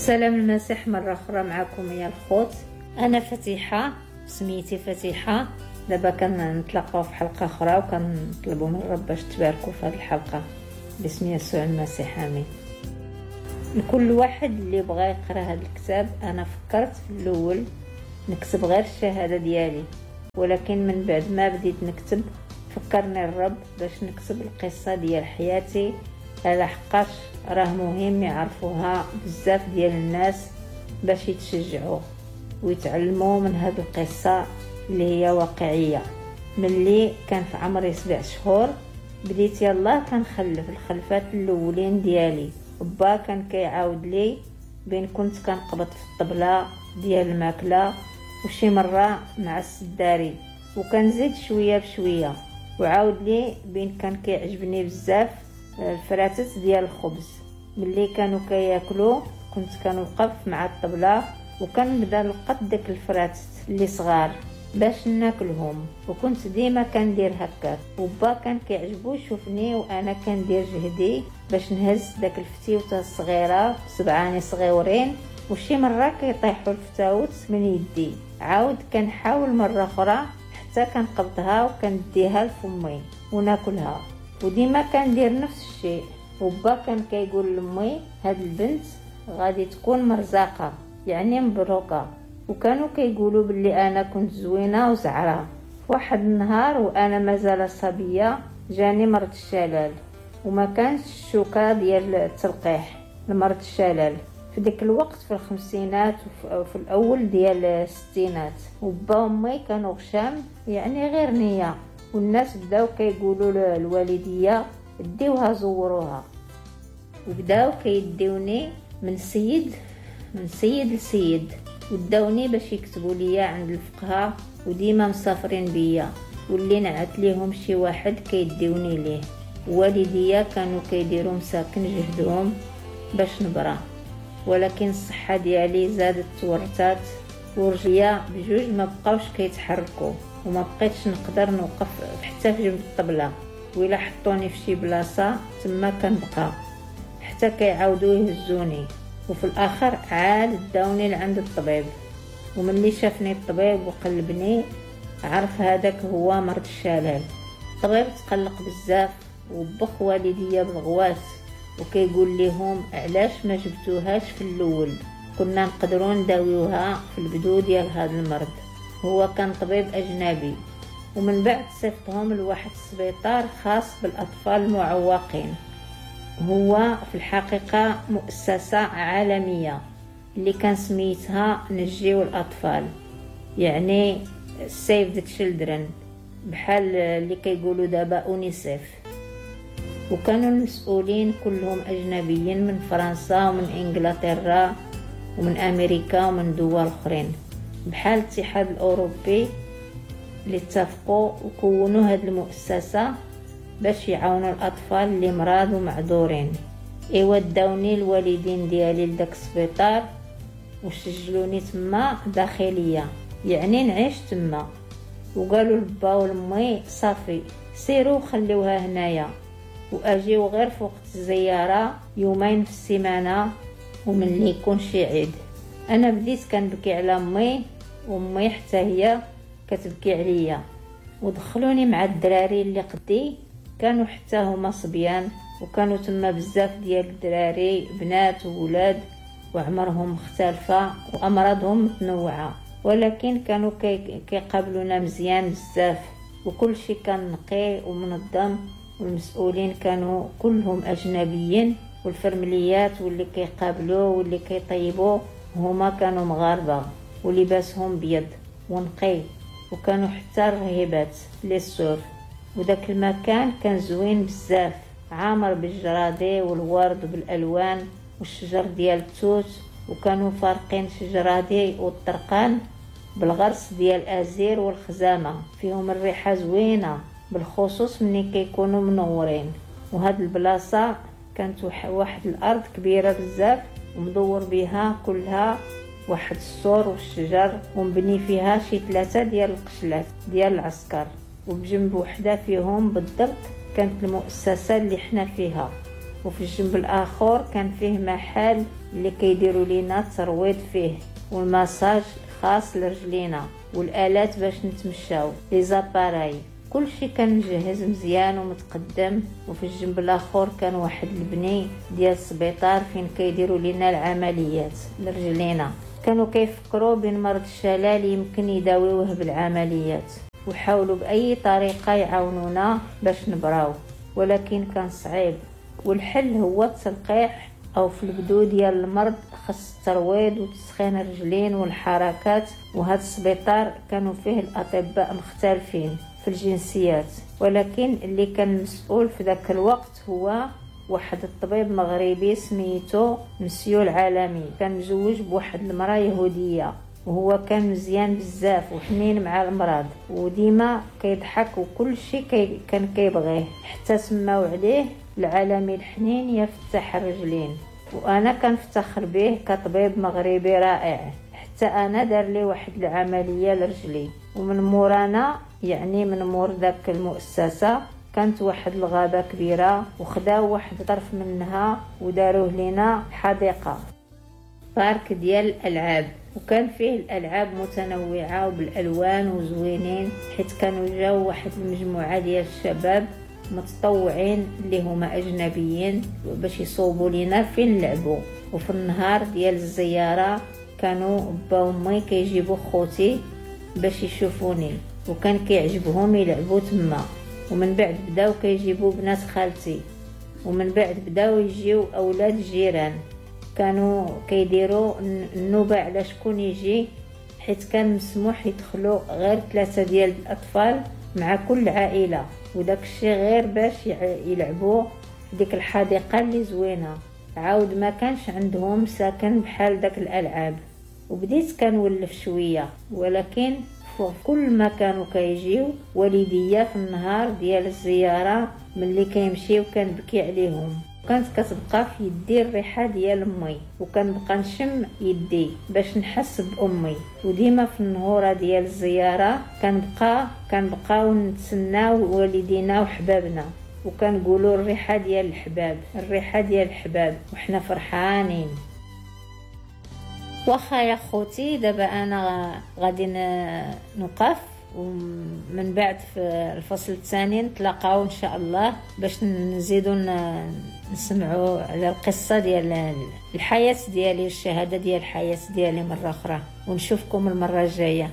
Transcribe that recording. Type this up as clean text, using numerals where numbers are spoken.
سلام المسيح مرة أخرى معكم يا الخوت. أنا فتيحة، سميتي فتيحة. دابا كنتلاقاو في حلقة أخرى وكنطلبوا من الرب باش تباركوا في هذه الحلقة باسم يسوع المسيح، آمين. لكل واحد اللي بغى يقرا هذا الكتاب، أنا فكرت في الأول نكتب غير الشهادة ديالي، ولكن من بعد ما بديت نكتب فكرني الرب باش نكتب القصة ديال حياتي، على حقاش راه مهم يعرفوها بزاف ديال الناس باش يتشجعوا ويتعلموا من هذه القصة اللي هي واقعية. ملي كان في عمري 7 شهور بديت يلاه كنخلف الخلفات الاولين ديالي. با كان كيعاود لي بين كنت كنقبض في الطبلة ديال الماكلة وشي مرة مع السداري، وكنزيد شوية بشوية. وعاود لي بين كان كيعجبني بزاف الفراتت ديال الخبز. ملي كانوا كياكلوا كنت كنوقف مع الطبلة وكنبدا نلقط ديك الفراتت اللي صغار باش ناكلهم، وكنت ديما كندير هكاك. وبا كان كيعجبو يشوفني وانا كندير جهدي باش نهز داك الفتيوته الصغيرة بصبعاني صغيورين، وشي مرة كيطيحوا الفتاوت من يدي. عاود كنحاول مرة اخرى حتى كنقبضها وكنديها لفمي وناكلها، وديما كندير نفس الشيء. وبا كان كيقول لامي هاد البنت غادي تكون مرزاقه، يعني مبروكه. وكانوا كيقولوا باللي انا كنت زوينة وزعره. واحد النهار وانا مازال صبية جاني مرض الشلل، وما كانش الشوكة ديال التلقيح لمرض الشلل في ديك الوقت، في الخمسينات وفي الاول ديال الستينات. وبا وامي كانوا غشام، يعني غير نيه، والناس بداو كيقولوا للوالديه ديوها زوروها، وبداو كيديوني من سيد لسيد، وداوني باش يكتبوا ليا عند الفقهاء، وديما مسافرين بيا، واللي نعت ليهم شي واحد كيديوني ليه. والديا كانوا كيديروا مساكن جهدهم باش نبرا، ولكن الصحة ديالي زادت تورتات، ورجليا بجوج ما بقاوش كيتحركوا، وما بقيتش نقدر نوقف حتى في جنب الطبلة، وإلا حطوني في شي بلاصة تما كنبقى حتى كيعاودوا يهزوني. وفي الاخر عاد داوني لعند الطبيب، وملي شافني الطبيب وقلبني عرف هذاك هو مرض الشلل. الطبيب تقلق بزاف وبخ والديا بالغوات، وكيقول لهم علاش ما جبتوهاش في الاول، كنا نقدروا نداويوها في البدو ديال هذا المرض. هو كان طبيب اجنبي، ومن بعد صيفطهم لواحد السبيطار خاص بالاطفال المعوقين. هو في الحقيقة مؤسسة عالمية اللي كان سميتها نجيو الأطفال، يعني Save the Children، بحال اللي كيقولوا دابا أونيسيف. وكانوا المسؤولين كلهم أجنبيين من فرنسا ومن إنجلترا ومن أمريكا ومن دول أخرين، بحال الاتحاد الأوروبي اللي اتفقوا وكونوا هذه المؤسسة باش يعاونوا الاطفال اللي مرض ومعذورين. ايوا داوني الوالدين ديالي لداك السبيطار وسجلوني تما داخلية، يعني نعيش تما. وقالوا لبا ولمي صافي سيروا خليوها هنايا واجيو غير في وقت الزيارة، يومين في السيمانة وملي يكون شي عيد. انا بديت كنبكي على امي، وامي حتى هي كتبكي عليا. ودخلوني مع الدراري اللي قدي، كانوا حتى هما صبيان، وكانوا تما بزاف ديال الدراري بنات وولاد، وعمرهم مختلفة وأمراضهم متنوعة، ولكن كانوا كيقابلونا مزيان بزاف، وكل شيء كان نقي ومنظم، والمسؤولين كانوا كلهم أجنبيين، والفرمليات واللي كيقابلوا واللي كيطيبوا هما كانوا مغاربة، ولباسهم بيض ونقي، وكانوا حتى الرهيبات les sœurs. وداك المكان كان زوين بزاف، عامر بالجرادي والورد وبالالوان والشجر ديال التوت، وكانوا فارقين شجرادي والطرقان بالغرس ديال ازير والخزامه، فيهم الريحة زوينة بالخصوص ملي كيكونوا منورين. وهاد البلاصة كانت واحد الارض كبيرة بزاف، ومدور بها كلها واحد السور والشجر، ومبني فيها شي 3 ديال القشلات ديال العسكر، وبجنب وحده فيهم بالضبط كانت المؤسسة اللي حنا فيها. وفي الجنب الاخر كان فيه محل اللي كيديروا لينا الترويض فيه والمساج خاص لرجلينا والالات باش نتمشاو، les appareils. كلشي كان مجهز مزيان ومتقدم. وفي الجنب الاخر كان واحد البني ديال السبيطار فين كيديروا لينا العمليات لرجلينا. كانوا كيفكروا بين مرض الشلل يمكن يداويوه بالعمليات، وحاولوا باي طريقه يعاونونا باش نبراو، ولكن كان صعيب. والحل هو التلقيح، او في البدو ديال المرض خص الترويض وتسخين الرجلين والحركات. وهذا السبيطار كانوا فيه الاطباء مختلفين في الجنسيات، ولكن اللي كان مسؤول في ذاك الوقت هو واحد الطبيب مغربي سميتو مسيو العالمي. كان مزوج بواحد المرأة يهودية، وهو كان مزيان بزاف وحنين مع المرض وديما كيضحك وكل شيء كان كيبغيه، حتى سماو عليه العالمي الحنين يا فتاح الرجلين. وانا كنفتخر به كطبيب مغربي رائع، حتى انا دار لي واحد العملية لرجلي. ومن مورانا، يعني من مور داك المؤسسة، كانت واحد الغابة كبيرة، وخداو واحد طرف منها وداروه لينا حديقة، parc ديال الالعاب، وكان فيه الالعاب متنوعة وبالالوان وزوينين، حيت كانوا جاو واحد المجموعة ديال الشباب متطوعين اللي هما اجنبيين باش يصوبوا لينا فين نلعبوا. وفي النهار ديال الزيارة كانوا با ومي كيجيبوا خوتي باش يشوفوني، وكان كيعجبهم يلعبوا تما. ومن بعد بداو كيجيبوا بنات خالتي، ومن بعد بداو يجيو اولاد الجيران. كانوا كيديروا النوبة على شكون يجي، حيت كان مسموح يدخلوا غير 3 ديال الاطفال مع كل عائلة، وداك الشيء غير باش يلعبوا ديك الحديقة اللي زوينة. عاود ما كانش عندهم ساكن بحال داك الالعاب، وبديت كنولف شوية. ولكن كل ما كانوا كيجيو والديا في النهار ديال الزيارة ملي كيمشيو كنبكي عليهم، كانت كتبقى في يدي الريحة ديال امي، وكنبقى نشم يدي باش نحس بامي. وديما في النهوره ديال الزيارة كنبقاو نتسناو والدينا وحبابنا، وكنقولوا الريحة ديال الحباب، الريحة ديال الحباب، وحنا فرحانين. واخا يا خوتي، دابا انا غادي نوقف، ومن بعد في الفصل الثاني نتلاقاو ان شاء الله باش نزيدو نسمعوا على القصة ديال الحياة ديالي والشهادة ديال الحياة ديالي مرة اخرى. ونشوفكم المرة الجاية.